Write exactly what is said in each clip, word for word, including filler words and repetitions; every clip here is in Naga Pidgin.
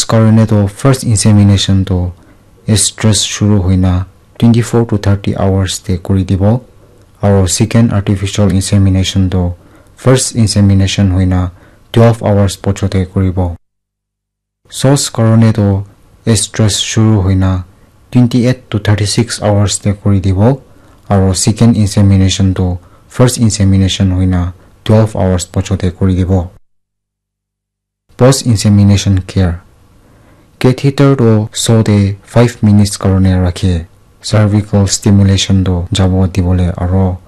karone toh first insemination toh estrus shuru hoina twenty-four to thirty hours te kuri dibo, aro second artificial insemination toh first insemination hoina twelve hours pochote kuribo. Sos karone toh estrus shuru hoina twenty-eight to thirty-six hours te kuri dibo, aro second insemination toh first insemination hoina twelve hours pochote kuri dibo. Post insemination care. Catheter toh sote five minutes karone rakhe. Cervical stimulation toh jabo dibole aro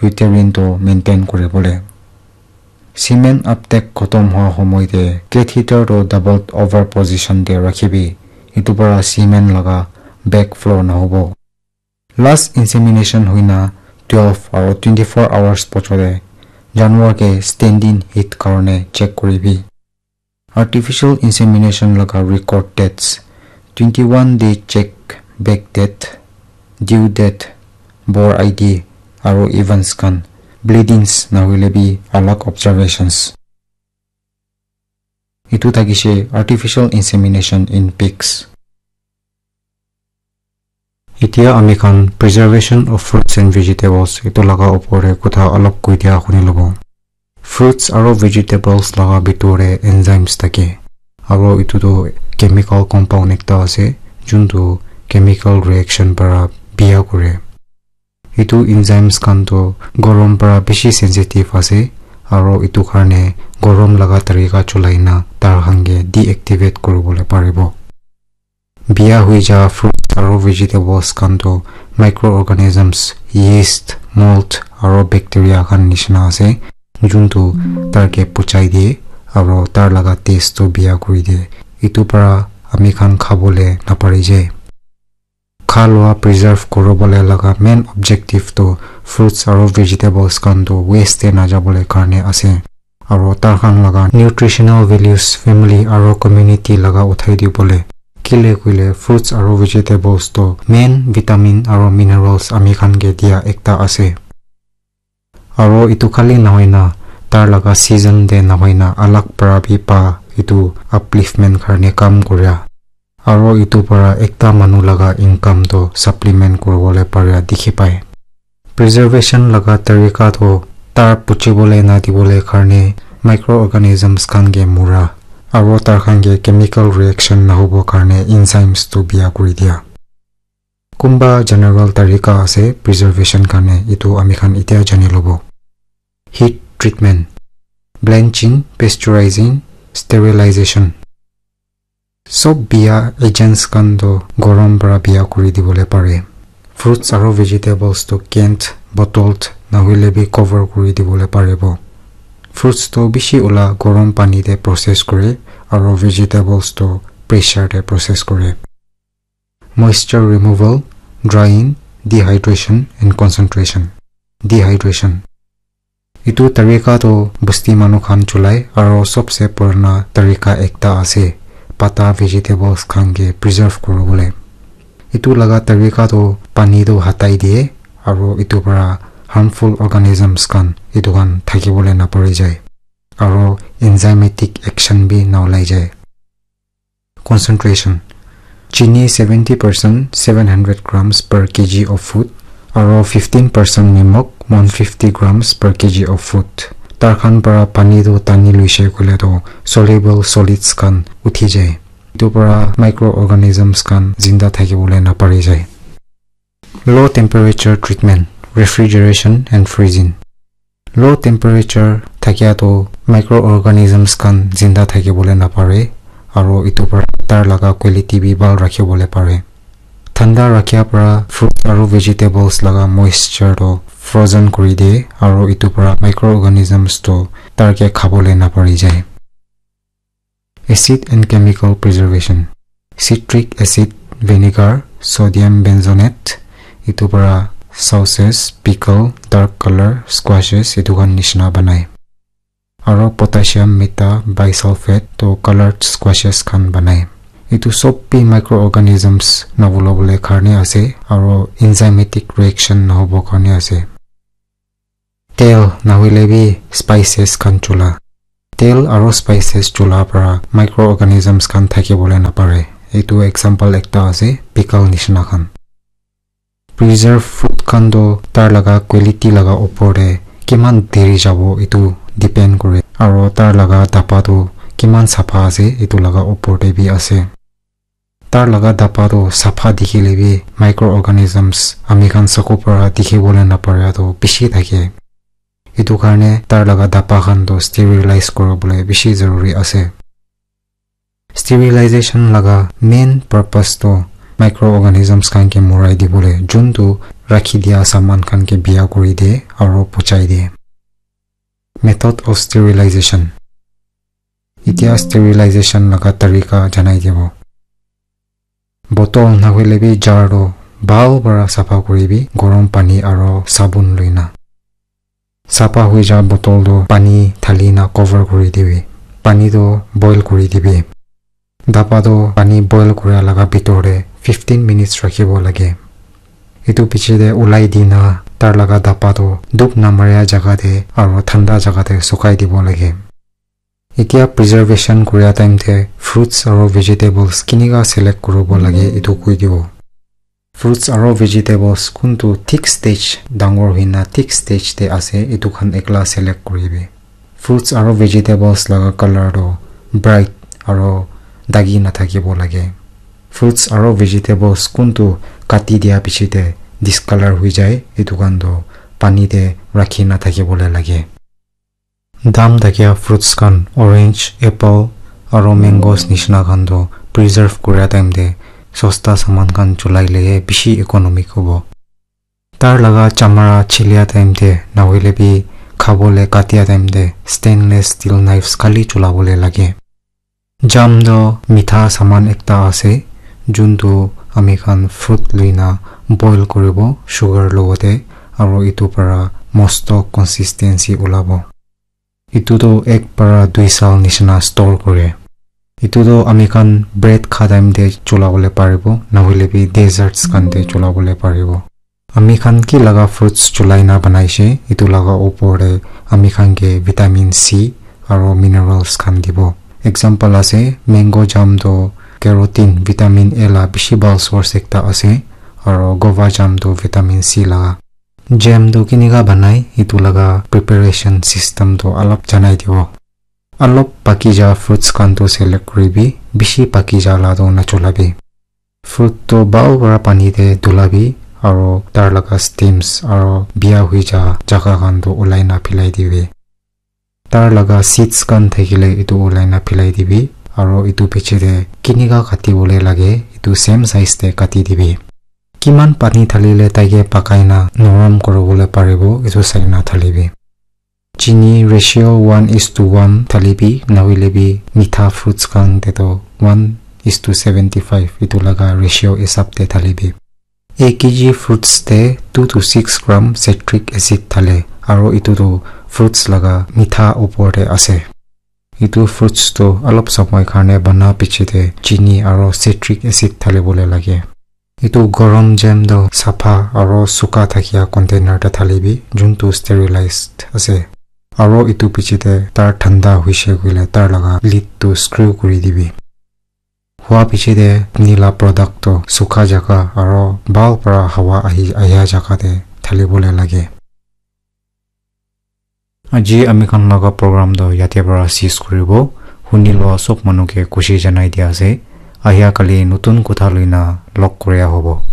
uterine toh maintain kuribole. Semen uptake khotom hoa homoi te catheter toh doubled over position te rakhibi. Itu para semen laga back flow nahobo. Last insemination hoina twelve aro twenty-four hours pochote janwar ke standing heat karone check kuribi. Artificial insemination laga record dates: twenty-one day check, back date, due date, bore I D, aro events khan, bleedings nahoile bi alag observations. Itu thakishe artificial insemination in pigs. Etiya ami khan preservation of fruits and vegetables itu laga opor te kotha olop koi dia huni lobo. Fruits aro vegetables laga bitor te enzymes thake, aro itu tu chemical compound ekta ase juntu chemical reaction para biya kore. Itu enzymes khan tu gorom para bishi sensitive ase, aro itu karne gorom laga tarika cholai na tar khan ke deactivate kuribole paribo. Biya hui ja fruits aro vegetables khan toh microorganisms, yeast, mold aro bacteria khan nishina ase, juntu tar ke puchai diye aro tar laga taste toh biya kuri diye. Itu para ami khan khabole napari jai. Kha lua preserve kuribole laga main objective toh fruits aro vegetables khan toh waste te najabole karne ase. Aro tar khan laga nutritional values family aro community laga uthai dibole. Kile koile fruits aro vegetables toh main vitamin aro minerals ami khan ke dia ekta ase. Aro itu khali nahoi na tar laga season te nahoi na alag para bi pa itu upliftment karne kam kuria. Aro itu para ekta manu laga income toh supplement kuribole paria dikhi pai. Preservation laga tarika toh tar puchibole na dibole karne microorganisms khan ke mura aro tar khan ke chemical reaction nahobo karne enzymes toh biya kuri dia. Kunba general tarika ase preservation karne, itu ami khan etiya jani lobo. Heat treatment, blanching, pasteurizing, sterilization. Sob biya agents khan toh gorom para biya kuri dibole pare. Fruits aro vegetables toh canned, bottled, nahoile bi cover kuri dibole paribo. Fruits toh bishi ula gorom pani te process kure, aro vegetables toh pressure te process kure. Moisture removal, drying, dehydration and concentration. Dehydration. Itu tarika toh busti manu khan cholai aro sobse purana tarika ekta ase pata vegetables khan ke preserve kuribole. Itu laga tarika toh pani toh hatai diye aro itu para harmful organisms khan itu khan thakibole napari jai aro enzymatic action bi naolai jai. Concentration. Chini seventy percent, seven hundred grams per K G of food, aro fifteen percent nimok, one fifty grams per K G of food. Tar khan para pani toh tani luishe koile toh soluble solids khan uthi jai. Itu para microorganisms khan zinda thakibole napari jai. Low temperature treatment, refrigeration and freezing. Low temperature thakia toh microorganisms khan zinda thakibole napare, aro itu para tar laga quality bi bhal rakhibole pare. Thanda rakhia para fruits aro vegetables laga moisture toh frozen kuri diye, aro itu para microorganisms toh tar ke khabole napari jai. Acid and chemical preservation. Citric acid, vinegar, sodium benzoate, itu para sauces, pickle, dark color, squashes, itu khan nishina banai. Aro potassium meta bisulfate toh colored squashes khan banai. Itu sob bi microorganisms nawulabole karne ase, aro enzymatic reaction nahobo karne ase. Tel nahoile bi spices khan chola. Tel aro spices chula para microorganisms khan thaki bole napare. Etu example ekta ase, pickle nishina khan. Preserve food khan toh tar laga quality laga opor te kiman deri jabo etu depend kore, aro tar laga daba toh kiman sapha ase etu laga opor te bi ase. Tar laga daba toh sapha dikhile bi microorganisms ami khan saku para dikhi bole napare toh bishi thake. Etu karne tar laga daba khan toh sterilize kuri bole bishi zaruri ase. Sterilization laga main purpose toh microorganisms khan ke morai dibole, juntu rakhi dia saman khan ke biya kuri de aro pochai de. Method of sterilization. Itya sterilization laga tarika janai dibo. Bottle nahoile bi jar toh bhal para sapha kuri bi, gorom pani aro sabun loina. Sapha hui ja bottle toh pani thali na cover kuri dibi. Pani toh boil kuri dibi. Daba toh pani boil kuria laga bitor te fifteen minutes rakhibo lage. Etu piche te ulai dina tar laga daba toh dhub namaria jaga te aro thanda jaga te sukhai dibo lage. Itya preservation kuria time te fruits aro vegetables kinika select kuribo lage etu koi dibo. Fruits aro vegetables kuntu thik stage dangor hoina thik stage te ase etu khan ekla select kuribi. Fruits aro vegetables laga color toh bright aro dagi nathakibo lage. Fruits aro vegetables kuntu kati dia piche te discolor hui jai etu khan toh pani te rakhi nathakibole lage. Dam thakia fruits khan orange, apple aro mangoes nishina khan toh preserve kuria time te sosta saman khan chulai le bishi economic hobo. Tar laga chamara chilia time te nahoile bi khabole katia time te stainless steel knives khali chulabole lage. Jam toh mitha saman ekta ase, juntu ami khan fruit luina boil kuribo sugar logote, aro etu para mosto consistency ulabo. Etu toh ek para dui sal nishina store kure. Etu toh ami khan bread kha time te chulabole paribo, nahoile bi desserts khan te chulabole paribo. Ami khan ki laga fruits chulai na banaise, etu laga opor te ami khan ke vitamin C aro minerals khan dibo. Example ase, mango jam toh carotene, vitamin A la bishi bhal source ekta ase, aro guava jam toh vitamin C laga. Jam toh kinika banai, etu laga preparation system toh alop janai dibo. Alop paki ja fruits khan toh select kuribi, bishi paki ja la toh nachulabi. Fruit toh bhal para pani te dhulabi, aro tar laga stems aro biya hui ja jaga khan toh ulai na philai dibi. Tar laga seeds khan thakile etu ulai na philai dibi, aro etu piche te kinika kati bole lage, etu same size te kati dibi. Kiman pani dhalile taike pakai na norom kuribole paribo, etu sai na dhalibi. Chini ratio one is to one thalibi, nahoile bi mitha fruits khan te toh one is to seventy five, etu laga ratio hisab te thalibi. Ek kg fruits te two to six gram citric acid thale, aro etu toh fruits laga mitha opor te ase. Etu fruits toh alop samay karne bana piche te chini aro citric acid thali bole lage. Etu gorom jam toh sapha aro suka thakia container te thalibi, juntu sterilized ase. Aro etu piche te tar thanda hoise koile tar laga lid toh screw kuri dibi. Hua piche te apni la product toh sukha jaga aro bhal para hawa ahi, ahia jaga te thali bole lage. Aji ami khan laga program toh yate para cease kuribo. Huni loa sob manu ke khushi janai dia ase. Ahia kali notun kotha loina log kuria hobo.